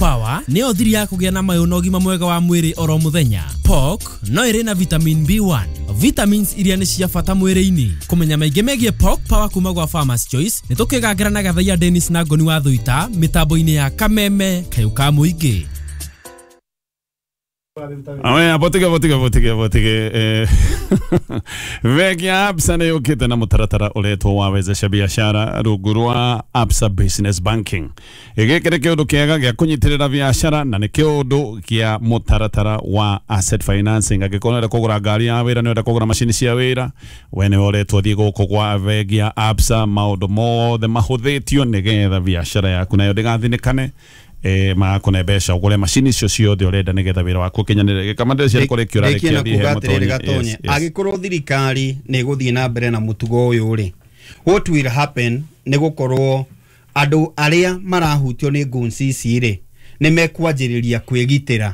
Power nĩyo thiri ya kũgĩa na mayũ na ũgima mwega wa mwĩrĩ oro mũthenya. Pork no ĩrĩ na vitamin B1, vitamins iria nĩ cia bata mwĩrĩ-inĩ. Kũmenya maingĩ megiĩ Pork Power kuma gwa Farmers Choice nĩ tũkĩgangĩra na Gathaiya Dennis na Ngoni wa Thuita mĩtambo-inĩ ya Kameme kayũ ka mũingĩ. Aya, botige botige botige botige. Bengi ya Absa nĩ yũkĩte na mũtaratara ũretwo wa wezesha biashara rungu rwa Absa Business Banking. Gĩkĩ nĩ kĩũndũ kĩega gĩa kũnyitĩrĩra biashara na nĩ kĩũndũ kĩa mũtaratara wa asset financing. Angĩkorwo nĩũrenda kũgũra ngari ya wĩra, nĩũrenda kũgũra macini cia wĩra, we nĩwe ũretwo thiĩ gũkũ gwa bengi ya Absa. Maũndũ mothe mahũthĩtio nĩgetha biashara yaku nayo ndĩgathinĩkane. Magakũne mbeca ũgũre macini icio ciothe ũrenda nĩgetha wĩra waku ũkinyanĩre. Gĩkama ndĩreciria kũrĩ kĩũra Rĩkia na rĩkia kuga atĩrĩrĩ Gatonye, angĩkorwo thirikari nĩ ĩgũthiĩ na mbere na mũtugo ũyũ rĩ, what will happen nĩ gũkorwo andũ arĩa marahutio nĩ goons ici rĩ, nĩ mekwanjĩrĩria kwĩgitĩra.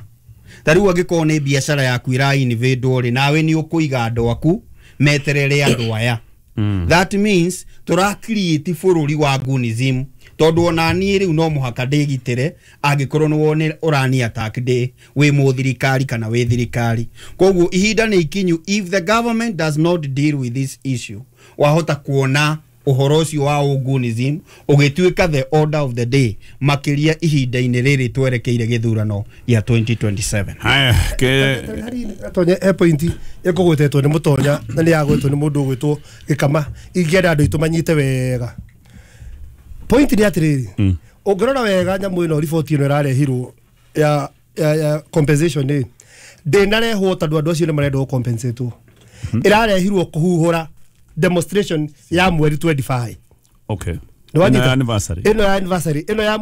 Ta rĩu angĩkorwo nĩ biacara yaku ĩra-invadwo rĩ, nawe nĩ ũkũiga andũ aku meterere andũ aya. That means tũra create bũrũri wa goonism, tondũ ona niĩ rĩu no mũhaka ndĩgitĩre angĩkorwo nĩ wone ũrani attack ndĩ wĩ mũthirikari kana wĩ thirikari. Koguo ihinda nĩ ikinyu, if the government does not deal with this issue, wahota kuona ũhoro ũcio wa ũgunism ũgĩtuĩka the order of the day, makĩria ihinda-inĩ rĩrĩ twerekeire gĩthurano gĩa 2027. Haya, ke Gatonye, he point ĩkũgwetetwo nĩ Mũtonya na nĩ yagwetwo nĩ mũndũ ũgwĩtwo Gĩkama, ingĩenda andũ aitũ manyite wega. Point nĩ atĩrĩrĩ, ũngĩrora wega nyamũ ĩno, riboti ĩno ĩrarehirwo ya compensation ĩ ndĩnarehwo tondũ andũ acio nĩ marenda gũcompensatwo. Ĩrarehirwo kũhuhũra demonstration ya mweri 25. Nĩwanyita? Ĩno ya anniversary. Ĩno ya anniversary, ĩno ya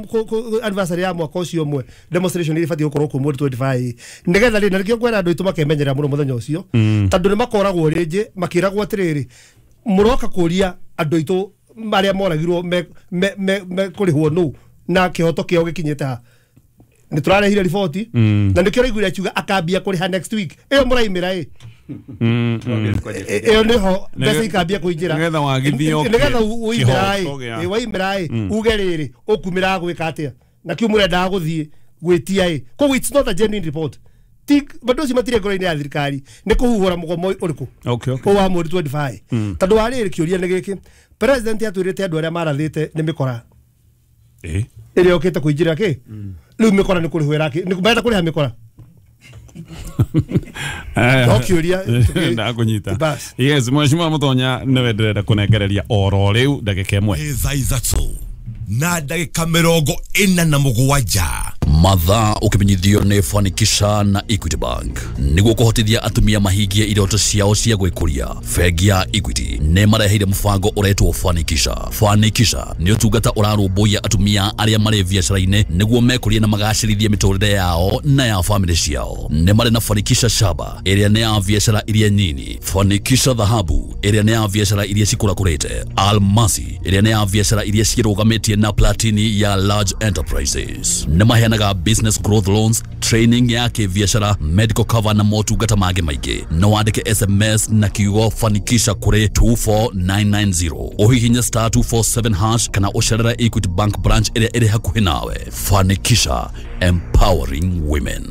anniversary ya mwaka ũcio ũmwe, demonstration ĩrĩa ĩbatiĩ gũkorwo kuo mweri 25, nĩgetha rĩ, na nĩkĩo ngwĩra andũ aitũ makemenyerera mũno mũthenya ũcio, tondũ nĩ makoragwo rĩngĩ makĩragwo atĩrĩrĩ, mũroka kũria andũ aitũ marĩa moragirwo me kũrĩhwo nũ na kĩhoto kĩao gĩkinyĩte ha. Nĩ tũrarehire riboti na nĩkĩo ũraiguire akiuga akambia kũrĩha next week. Ĩyo mũraimĩra ĩ ĩyo nĩho mbeca ikambia kũingĩra. Nĩgetha wagithio nĩgetha ũimĩra ĩ kĩhoto gĩa- waimĩra ĩ uge rĩrĩ ũkumĩra gwĩka atĩa na kĩu mũrendaga gũthiĩ gwĩtia ĩ. Koguo it's not a genuine report. Ti andũ acio matirĩ ngoro-inĩ ya thirikari, nĩ kũhuhũra mũgomo ũrĩkũ ũyũ wa mweri 25, tondũ wa rĩrĩ, kĩũria nĩ gĩkĩ, president atwĩrĩte andũ arĩa marathĩte nĩ mĩkora ĩrĩa ũkĩte kũingĩra kĩ rĩu mĩkora nĩ kũrĩhwo ĩrakĩ nĩ marenda kũrĩha mĩkora. No kĩũria Ndakũnyita. Bas. Yes, mheshimiwa Mũtonya nĩwe ndĩrenda kũnengereria oro rĩu ndagĩka ĩmwe. Nĩ thaa 3:47. Mathaa ũkĩmenyithio nĩ Fanikisha na Equity Bank nĩguo kũhotithia atumia mahingie iroto ciao cia gwĩkũria. Bengi ya Equity nĩ mareheire mũbango ũretwo Fanikisha. Fanikisha nĩ ũtungata ũrarũmbũiya atumia arĩa marĩ biacara-inĩ nĩguo mekũrie na magacĩrithie mĩtũrĩre yao na ya famĩlĩ ciao. Nĩ marĩ na Fanikisha Shaba ĩrĩa nĩ ya biacara iria nyini, Fanikisha Dhahabu ĩrĩa nĩ ya biacara iria cikũrakũrĩte, Almasi ĩrĩa nĩ ya biacara iria ciĩrũgamĩtie na Platini ya large enterprises. Nĩ maheanaga business growth loans, training ya kĩbiacara, medical cover na motungata mangĩ maingĩ. No wandĩke SMS na kiugo Fanikisha kũrĩ 24990, ũhihinye *247# kana ũcerere Equity Bank branch ĩrĩa ĩrĩ hakuhĩ nawe. Fanikisha, empowering women.